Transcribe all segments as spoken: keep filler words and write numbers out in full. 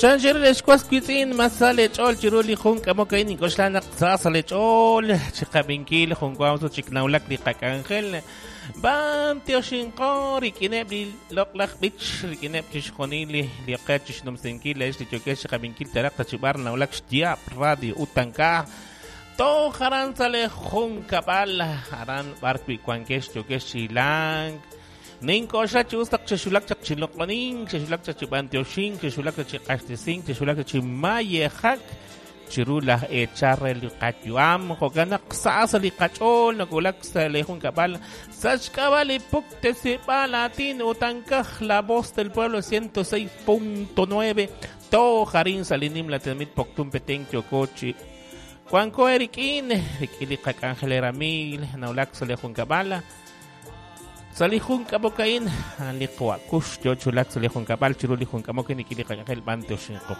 Chanxer lexwas witz'in masale ch'ol chiru li jun k'amok a'in ink'oxla naq sa sa le ch'ol chiqab'inkil jun wawso chiknawlak li qak'anjel b'an tioxinqo rik'ineb' li loq'laj b'ich rik'ineb' chixjunil li li qe chixnumsinkil lex li yokex chiqab'inkil taraq tachib'ar nawlak xyaab' radio utanka toj aran sa le jun kab'al aran b'ar wi' wankex yokex chilank Nink'oxla chi us taq chexulak chaq chiloq'onin, chexulak chaq chib'antioxin, chexulak chaq chiq'axtesin, chexulak chaq chimayejak chiru laj eechar re li qayu'am. Jo'kan naq sa sa li qach'ool nak'ulak sa le jun kab'al sa xk'ab'a' li puktesib'al aatin utankaj La Voz del Pueblo ciento seis punto nueve toj arin sa li nim la tenamit Poptún Petén yoko chi wanko erik'in rik'in li qak'anjel eramil nawlak sa le jun kab'al. Sa li jun k'amok a'in, li qwakux yo chulak sa li jun kab'al chiru li jun k'amok a'in rik'in li qak'anjel b'antioxinqo.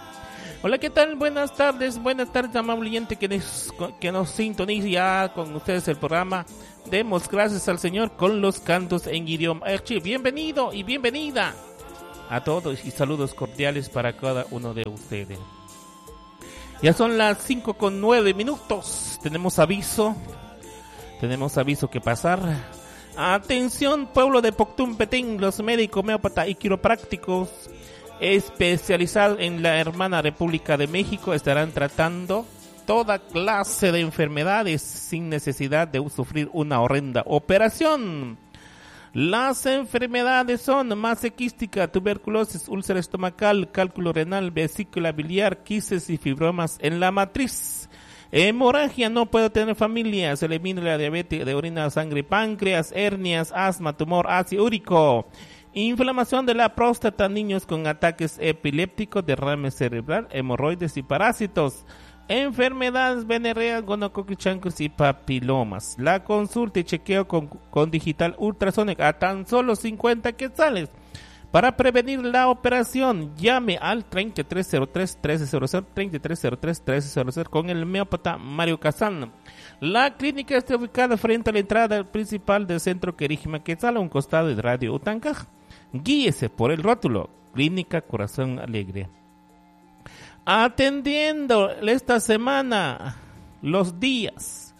Hola, ¿qué tal? Buenas tardes, buenas tardes, amable oyente que nos, que nos sintoniza ya con ustedes el programa. Demos gracias al Señor con los cantos en idioma Erchi. Bienvenido y bienvenida a todos y saludos cordiales para cada uno de ustedes. Ya son las cinco con nueve minutos. Tenemos aviso, tenemos aviso que pasar. Atención, pueblo de Poptún Petén, los médicos, homeópatas y quiroprácticos especializados en la hermana República de México estarán tratando toda clase de enfermedades sin necesidad de sufrir una horrenda operación. Las enfermedades son masa quística, tuberculosis, úlcera estomacal, cálculo renal, vesícula biliar, quistes y fibromas en la matriz. Hemorragia, no puedo tener familia, se elimina la diabetes de orina, sangre, páncreas, hernias, asma, tumor, ácido úrico, inflamación de la próstata, niños con ataques epilépticos, derrame cerebral, hemorroides y parásitos, enfermedades venéreas, gonococcus, chancros y papilomas. La consulta y chequeo con, con digital ultrasonic a tan solo cincuenta quetzales. Para prevenir la operación, llame al treinta y tres cero tres, trece cero cero, treinta y tres cero tres, trece cero cero con el homeópata Mario Casán. La clínica está ubicada frente a la entrada principal del centro Querigma Quetzal, a un costado de Radio Utancaj. Guíese por el rótulo, Clínica Corazón Alegre. Atendiendo esta semana los días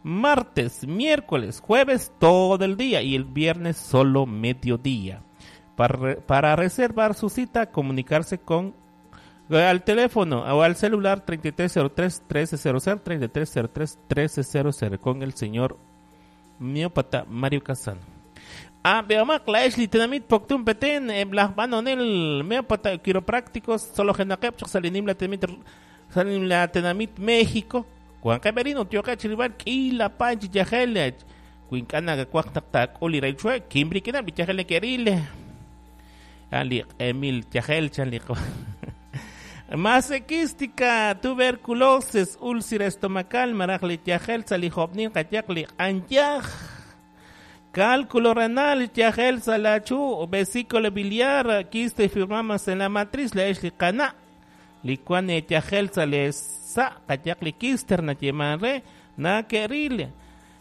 martes, miércoles, jueves todo el día y el viernes solo mediodía. Para, para reservar su cita, comunicarse con al teléfono o al celular treinta y tres cero tres, trece cero cero, treinta y tres cero tres, trece cero cero con el señor miópata Mario Casano. Ah, veamos, la Ashley Tenamit Poptún Petén, las Banonel, miópata quiroprácticos, solo Genakep, Salinim la Tenamit, Salinim la Tenamit México, Juan Camerino, Tío Cachiribar, Kila Panchi Yajel, Cuincana, Cuactac, Uli Raichue, Kimbriquina, Bichajel Querile. Ali Emil Yajel, Chanli. Masequística, tuberculosis, úlcera estomacal, marajli yajel, salijobnin, kayakli, anyaj, cálculo renal, yajel, salachu, vesícula biliar, quiste y fibromas en la matriz, la esli cana, licuane yajel, salesa, kayakli quister, na yemanre, na querile.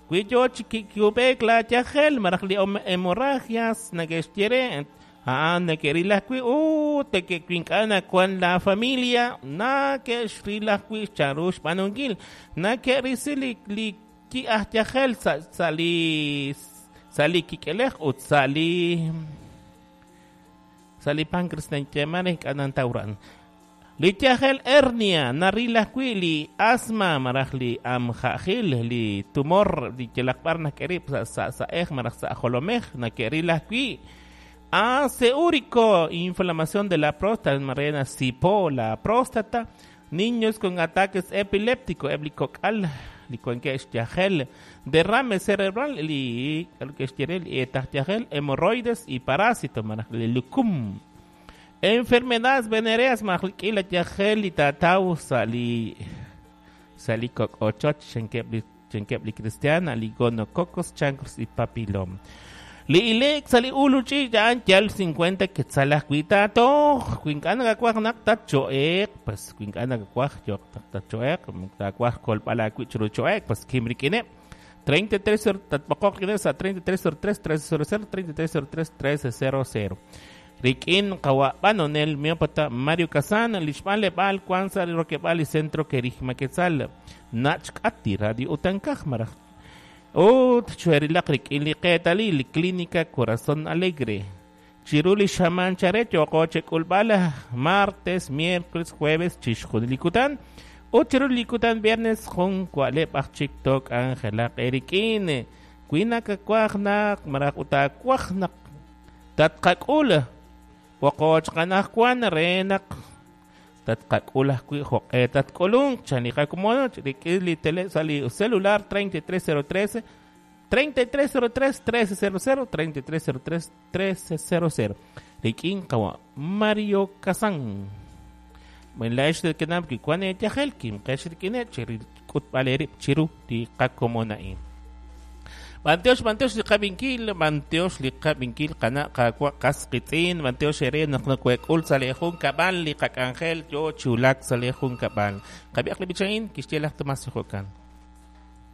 Cuyo chiquiubek, la yajel, marajli hemorragias, na gestiere. Ah, na querila kui, uh, te que quincana con la familia, na que shrila kui charush panungil, na que risili li ki ahyajel sali sali kikelej ut sali sali pancreas na yamare kanantauran. Li yajel hernia, narila kui li asma marajli amjajil li tumor li kelakbar na kerip sa sa sa ej maraj sa jolomej na querila kui. Ácido úrico, inflamación de la próstata, marena cipo, la próstata, niños con ataques epilépticos, eblicocal, licuanquex yajel, derrame cerebral, li, hemorroides y parásitos, lucum. Enfermedades venéreas, majliquila yajel y tatau, sali, salicoc ochoch, chenquebli, chenquebli cristiana, ligonococos, chancros y papilom. Li ilek sali uluchi yan yal cincuenta quetzalas cuitato cuincana gacuaj nak choek pues cuincana gacuaj yo choek gacuaj colpala cuichuru choek pues kimrikine treinta y tres tatpocok a treinta y tres cero tres trece cero cero treinta y tres cero tres trece cero cero. Rik'in qawa b'anonel miopata Mario Kazan, li xb'anleb'aal wan sa' li rokeb'aal li Centro Kerigma Quetzal, nach k'ati Radio Utankaj maraj. Ut chwerilaq rik'in li qeetalil Clínica Corazón Alegre. Chiru li xamaan chare yooqo chek'ulb'al martes, miércoles, jueves chixjunil li kutan. Ut chiru li kutan viernes jun wa'leb' aj chik took'anjelaq erik'in. Wi nakawaj naq maraj utaawaj naq tatqak'ul Poqoch qanajwan re naq tatqak'ul ajwi' joq'e tatk'ulunk chan li qakomono rik'in li tele sa' li celular treinta y tres cero tres treinta y tres cero tres trece cero cero treinta y tres cero tres trece cero cero rik'in qawa Mario Kazan. Buen la ex de kenam ki kwan yajel kim qex rik'ine chiri k'utb'al erib' chiru li qakomona'in. Banteox, banteox li qabinkil, banteox li qabinkil qana qawa qasqitz'in, banteox ere naq nakuek'ul sa' li jun kab'al li qak'anjel yo chulak sa' li jun kab'al. Qab'iaq li bichain kixye laj Tomás Jokan.